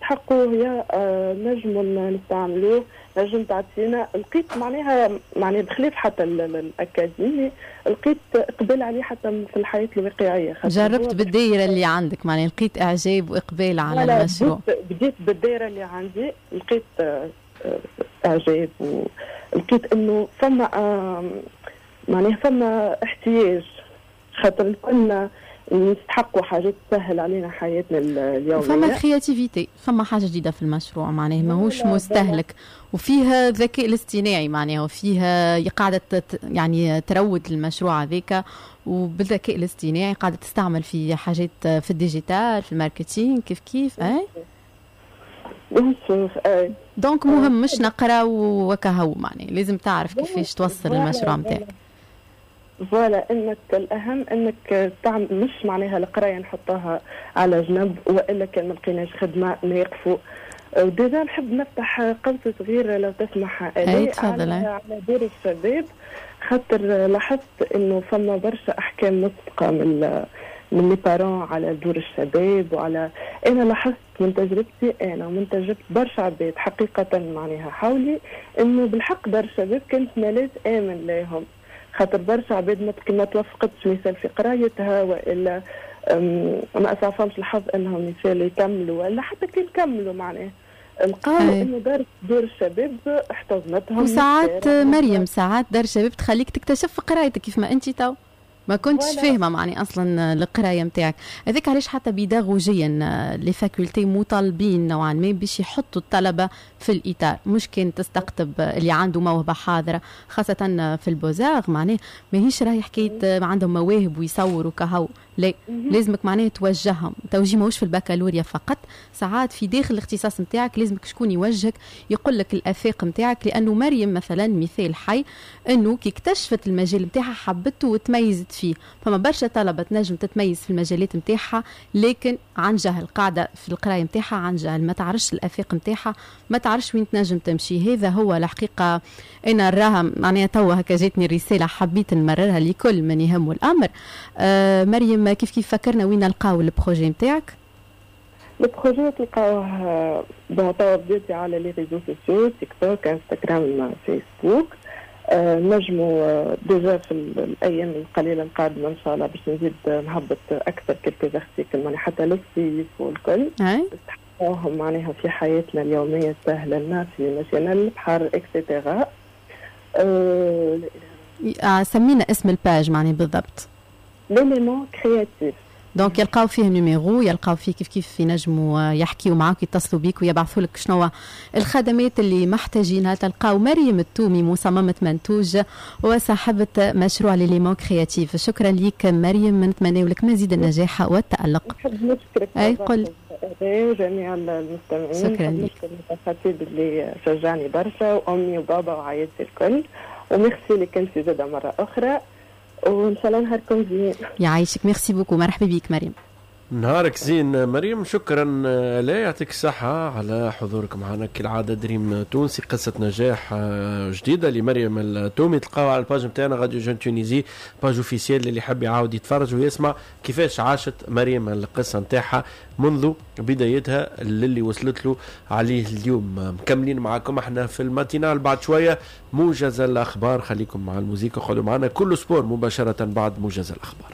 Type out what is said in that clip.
نستحقوه، يا نجموا نستعملوه، نجم تعطينا. لقيت معناها بخلاف حتى الاكاديمي، لقيت اقبال عليه حتى في الحياة الواقعيه. جربت بالدائره اللي عندك، معناها لقيت اعجاب واقبال على المشروع. بديت بالدائره اللي عندي، لقيت اعجاب ولقيت انه فما معناها فما احتياج، خاطر كنا نستحقوا حاجات تسهل علينا حياتنا اليوميه. فما créativité، فما حاجة جديدة في المشروع، معناه ماهوش مستهلك، وفيها الذكاء الاصطناعي، معناه وفيها قاعدة يعني تروج المشروع هذاك، وبالذكاء الاصطناعي قاعدة تستعمل في حاجات في ال digital، في ال marketing، كيف كيف اي. donc مهم مش نقرا وكهو، معناه لازم تعرف كيفاش توصل المشروع نتاعك. voilà، انك الاهم انك تعمل، مش معناها القراية نحطها على جنب، والا كان ما لقيناش خدمة نقفوا. déjà نحب نفتح قوس صغير لو تسمح. اي تفضل. على دور الشباب، خاطر لاحظت انه فما برشا احكام مسبقة من les parents على دور الشباب. وعلى انا لاحظت من تجربتي انا ومن تجربه برشا عباد حقيقة معناها حولي، انه بالحق دار الشباب كانت ملاذ امن لهم، خاطر برشا عباد ما توفقتش مثال في قرايتها، والا ما اسعفهمش الحظ انهم مثال يكملوا، ولا حتى كي يكملوا معناه لقاو انه دور الشباب احتضنتهم. وساعات مريم، ساعات دار الشباب تخليك تكتشف في قرايتك، كيف ما انت تو ما كنتش فاهمه معني اصلا القراية نتاعك. هذاك علاش حتى بيداغوجيا les facultés مطالبين نوعا ما باش يحطوا الطلبة في الاطار، مش كان تستقطب اللي عنده موهبة حاضره، خاصة في ال beaux-arts، معناه ماهيش راهي حكاية عندهم مواهب ويصوروا كهو، لا، لازمك معناه توجههم. توجيه ماهوش في البكالوريا فقط، ساعات في داخل الاختصاص نتاعك لازمك شكون يوجهك، يقول لك الافاق نتاعك. لانه مريم مثلا مثال حي، انه كي اكتشفت المجال نتاعها حبته وتميزت فيه. فما برشا طلبه تنجم تتميز في المجالات نتاعها، لكن عن جهل، قاعدة في القراية نتاعها عن جهل، ما تعرفش الافاق نتاعها، ما تعرفش وين تنجم تمشي. هذا هو الحقيقة انا نراها معناها توا هكا جاتني الرساله، حبيت نمررها لكل من يهمه الامر. مريم، كيف كيف فكرنا وين نلقاو ال projet نتاعك؟ ال projet تلقاوه، bon توا بديتي على les réseaux sociaux، تيك توك، انستغرام، فيسبوك. نجموا déjà في الايام القليلة القادمة ان شاء الله باش نزيد نهبط اكثر quelques articles، معناها حتى للصيف والكل نستحقوهم معناها في حياتنا اليوميه، سهلة لنا في مشينا للبحر et cetera. سمينا اسم ال page معني بالضبط. l'élément créatif. donc يلقاو فيه numéro، يلقاو فيه كيف كيف ينجموا يحكيوا معاك، يتصلوا بيك ويبعثوا لك شنو الخدمات اللي محتاجينها. تلقاو مريم التومي، مصممة منتوج وصاحبة مشروع l'élément créatif. شكرا لك مريم، نتمنى لك مزيد النجاح والتألق. نحب نشكرك. اي قل. وجميع المستمعين. شكرا لك. نشكر الخطيب اللي شجعني برشا، وامي وبابا وعائلتي الكل، وميرسي لك انت زاده مرة اخرى، وان شاء الله نهاركم زين. يعيشك، merci beaucoup، مرحبا بك مريم. نهارك زين مريم، شكرا لا يعطيك الصحة على حضورك معنا كالعادة. دريم تونسي، قصة نجاح جديدة لمريم التومي، تلقاوها على ال page نتاعنا radio jeune Tunisie، page officielle، اللي يحب يعاود يتفرج ويسمع كيفاش عاشت مريم القصة نتاعها منذ بدايتها للي وصلت له عليه اليوم. مكملين معاكم احنا في ال matinale، بعد شوية موجز الأخبار. خليكم مع الموزيكا وخذوا معنا كل sport مباشرة بعد موجز الأخبار.